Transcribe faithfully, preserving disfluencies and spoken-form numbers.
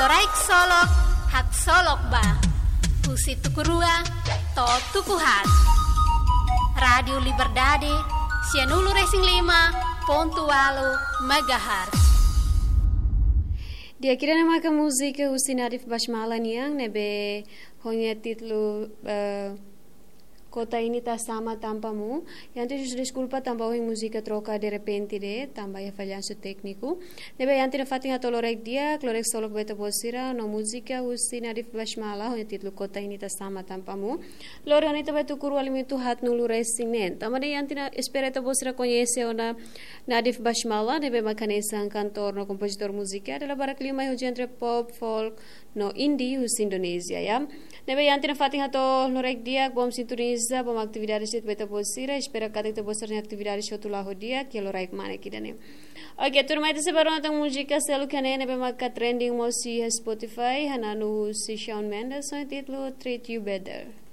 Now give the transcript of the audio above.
Loraik Solok, Haksolok Ba. Husi tuku rua to'o tuku haat. Rádiu Liberdade, sianulu-resin-lima pontu ualu megahertz. Di'ak, ida-ne'e maka múzika husi Nadif Basmala nian, ne'ebé ho nia títulu, eh, Kota Ini Tak Sama Tanpamu. Iha ne'e husu deskulpa tanba ohin múzika troka derrepente de'it, tanba iha fallansu tékniku. Ne'ebé iha ne'e fatin hato'o loraik di'ak, loraik solok ba ita-boot sira, no múzika husi Nadif Basmala, ho nia títulu Kota Ini Tak Sama Tanpamu. Lori ona ita ba tuku rua limitu haatnulu-resin-neen. Tanba ne'e iha ne'e espera ita-boot sira koñese ona Nadif Basmala, ne'ebé maka hanesan kantór no kompozitór múzika, dala barak liu mai husi entre pop, folk, no indie husi Indonézia, ya. Ne'ebé iha ne'e fatin hato'o loraik di'ak, bom sintoniza, bom atividade sira ba ita-boot sira, espera katak ita-boot sira-nia atividade hotu la'o di'ak, iha loraik mane ida-ne'e. Oke, tuirmai ita sei bá rona tan múzika seluk iha ne'e, ne'ebé maka trending mós iha Spotify, hananu husi Shawn Mendes, ho títulu Treat You Better.